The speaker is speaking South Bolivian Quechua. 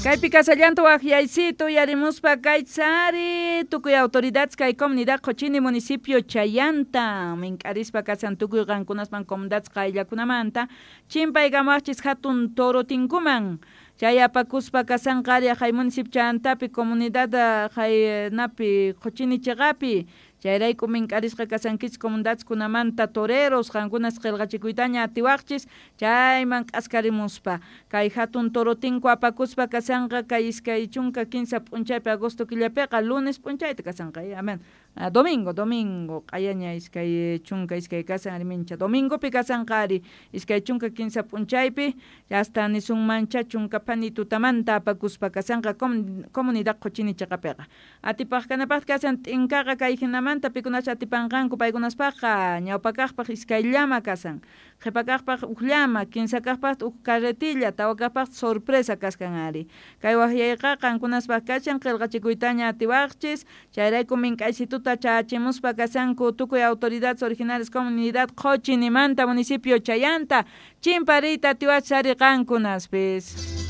Kaypi kasallanta waqyaysito yarimuspa kaytsari tukuy autoridades kay comunidad Qochini municipio Chayanta mink'arispa kasan tukuy qankunasman comunidades qayllakunamanta chimpaykamawaqchis hatun torotinkuman chay apakuspa kasanqa ari hay municipio Chayantapi comunidad haynapi Qochini chiqapi chayrayku mink'arisqa kasankichis comunidadeskunamanta toreros qankunas qillqachikuytaña atiwaqchis chayman k'askarimuspa kay hatun torotinku apakuspa kasanqa kay 23 p'unchaypi agosto killapiqa lunes p'unchayta kasanqa amen domingo domingo q'ayaña 22 kasan ari mincha domingopi kasanqa ari 23 p'unchaypi hasta nisunmancha chunka phani tutamanta apakuspa kasanqa comunidad Qochini chiqapiqa atipaq kanapaq kasan t'inkaqa kay hinamanta pikunacha atipanqanku paykunaspaqqa ñawpakaqpaq iskay llama kasan qhipakaqpaq uj llama kinsakaqpaq uj carretilla tawakaqpaq sorpresa kaskan ari kay waqyayqa qankunaspaq kachan qillqachikuytaña atiwaqchis chayrayku mink'aysituta chachimuspa kasanku tukuy autoridades originales comunidad Qochinimanta municipio Chayanta chimpariyta atiwachis ari qankunaspis.